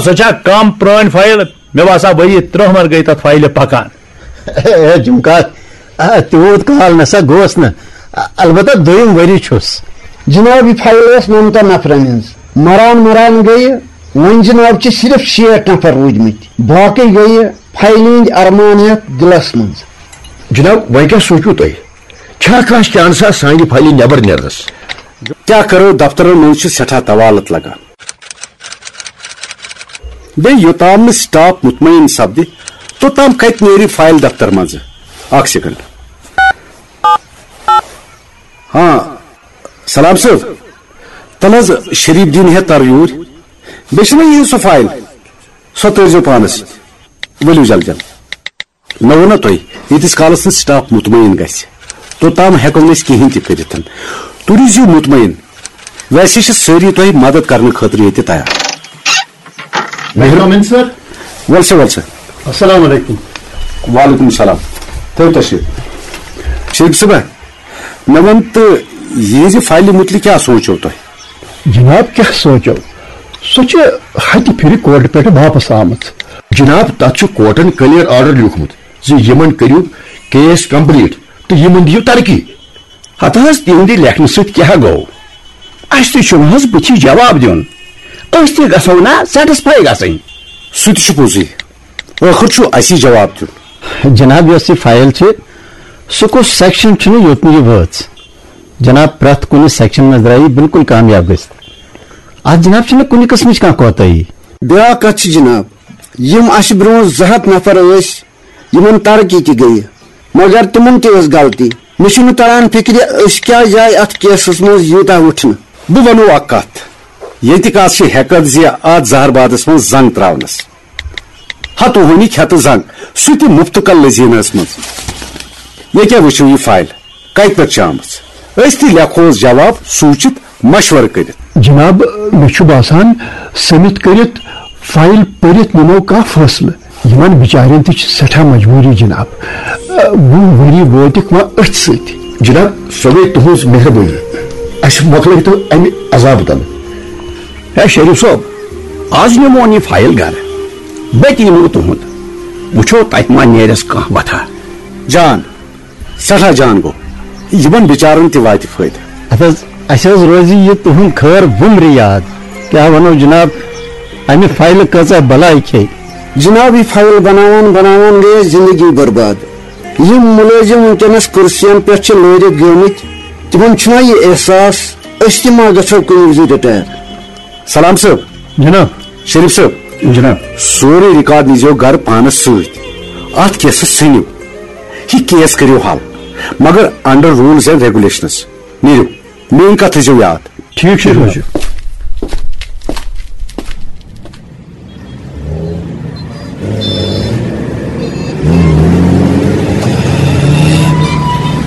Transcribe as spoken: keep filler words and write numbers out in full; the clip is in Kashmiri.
سۄ چھا کم پرٲنۍ فایل؟ مےٚ باسان، ؤری ترٛہ مر گٔے تتھ فایلہِ پکان۔ ہے، جمکار، آ، تیوٗت کال نسا گوس نہٕ۔ آ، البتہ دوٚیِم ؤری چھُس۔ جناب، یہِ فایل ٲس نَمتَن نفرن ہٕنٛز۔ مران مران گٔیہِ، وۄنۍ جناب چھِ صرف شیٹھ نفر روٗدۍمٕتۍ۔ باقٕے گٔیہِ فایلہِ ہٕنٛدۍ ارمان ہٮ۪تھ دِلس منٛز۔ جناب، وۄنۍ کیٛاہ سوٗنٛچِو تُہۍ؟ چھا کانٛہہ چانسا سانہِ فایلہِ نٮ۪بر نیرنس؟ کیٛاہ کرو، دفترن منٛز چھِ سٮ۪ٹھاہ طوالت لگان۔ بیٚیہِ یوٚتام نہٕ سٹاف مطمئن سپدِ، توٚتام کتہِ نیرِ فایل دفتر منٛزٕ؟ اکھ سیکنڈ۔ ہاں، سلام صٲب، تَلہٕ حظ شریف دیٖن ہیٚتھ تَر یوٗرۍ۔ بیٚیہِ چھُنہ یہِ سۄ فایل، سۄ ترٲیزیو پانس سۭتۍ۔ ؤلِو جلدی جلدی۔ مےٚ ووٚن نا تۄہہِ، ییٖتِس کالس نہٕ سٹاف مطمئن گژھِ، توٚتام ہٮ۪کو نہٕ أسۍ کِہیٖنۍ تہِ کٔرِتھ۔ تُہۍ روٗزِو مطمئن، ویسے چھِ سٲری تۄہہِ مدد کرنہٕ خٲطرٕ ییٚتہِ تیار۔ مہربٲنی سر۔ وَل سا، وَل سا۔ السلام علیکم۔ وعلیکم السلام۔ تھٲیِو تشریف۔ شریف صٲبہ، مےٚ وَن تہٕ، یہِ زِ فایلہِ مُتعلِق کیٛاہ سونٛچو تۄہہِ؟ جناب، کیٛاہ سونٛچو؟ سۄ چھِ ہتہِ پھِرِ کورٹہٕ پٮ۪ٹھٕ واپس آمٕژ۔ جناب، تَتھ چھُ کورٹن clear order لیوٗکھمُت زِ یِمن کٔرِو case complete تہٕ یِمن دِیِو ترقی۔ ہتہٕ حظ، تِہنٛدِ لیکھنہٕ سۭتۍ کیٛاہ گوٚو؟ اسہِ تہِ چھُنہٕ حظ بُتھِ جواب دیُن۔ أسۍ تہِ گژھو نا satisfy گژھٕنۍ۔ سُہ تہِ چھُ پوٚزُے۔ ٲخٕر چھُ اسی جواب دیُن۔ جناب، یۄس یہِ فایل چھِ، سُہ کُس section چھُنہٕ یوٚت نہٕ یہِ وٲژ؟ جناب، پرٛٮ۪تھ کُنہِ section منٛز درٛایہِ یہِ بِلکُل کامیاب گٔژھِتھ۔ اتھ جناب چھُنہٕ کُنہِ قٕسمٕچ کانٛہہ کوتاہی۔ بیٛاکھ کتھ چھِ جناب، یِم اسہِ برٛونٛہہ زٕ ہتھ نفر ٲسۍ، یِمن ترقی تہِ گٔیہِ، مگر تِمن تہِ ٲس غلطی۔ مےٚ چھُنہٕ تران فِکرِ، أسۍ کیٛازِ آے اتھ کیسس منٛز یوٗتاہ وُٹھنہٕ۔ بہٕ ونو اکھ کتھ، ییٚتہِ کتھ چھِ ہیٚکتھ زِ اتھ زہربادس منٛز زنگ تراونس۔ ہتوہنی کھٮ۪تہٕ زنگ، سُہ تہِ مُفتہٕ کل لذیذس منٛز۔ ییٚکیٛاہ وٕچھِو یہِ فایل، کتہِ پٮ۪ٹھ چھِ آمٕژ؟ أسۍ تہِ لیکھوس جواب سوٗنٛچِتھ مشورٕ کٔرِتھ۔ جناب، مےٚ چھُ باسان، سٔمِتھ کٔرِتھ فایل پٔرِتھ نِمو کانٛہہ فٲصلہٕ۔ یِمن بِچارٮ۪ن تہِ چھِ سٮ۪ٹھاہ مجبوٗری، جناب۔ وُہ ؤری وٲتِکھ وۄنۍ أتھۍ سۭتۍ۔ جناب، سۄ گٔے تُہٕنٛز مہربٲنی۔ اَسہِ مۄکلٲوتو اَمہِ عذابہٕ تلہٕ۔ ہے شریف صٲب، آز نِمون یہِ فایل گرٕ۔ بہٕ تہِ یِمو تُہُنٛد۔ وٕچھو تتہِ ما نیرٮ۪س کانٛہہ وتھا۔ جان، سٮ۪ٹھاہ جان گوٚو۔ یِمن بِچارن تہِ واتہِ فٲیدٕ۔ ادٕ حظ، اسہِ حظ روزِ یہِ تُہُنٛد خٲر وُمرِ یاد۔ کیٛاہ ونو جناب، امہِ فایلہٕ کۭژاہ بلاے کھے۔ جناب، یہِ فایل بناوان بناوان گٔیَس زندگی برباد۔ یِم مُلٲزِم وٕنکیٚنَس کُرسِیَن پٮ۪ٹھ چھِ لٲرِتھ گٔمٕتۍ، تِمَن چھُنا یہِ احساس، أسۍ تہِ ما گژھو کُنہِ وِزِ retire؟ سلام صٲب۔ جناب۔ شریف صٲب۔ جناب۔ سورُے ریکارڈ نیٖزیو گرٕ پانس سۭتۍ۔ اتھ کیسس ژھٕنِو۔ یہِ کیس کٔرِو حل، مگر under rules and regulations۔ نیٖرِو۔ میٛٲنۍ کتھ تھٲیزیو یاد۔ ٹھیٖک چھُ، ٹھیٖک چھُ۔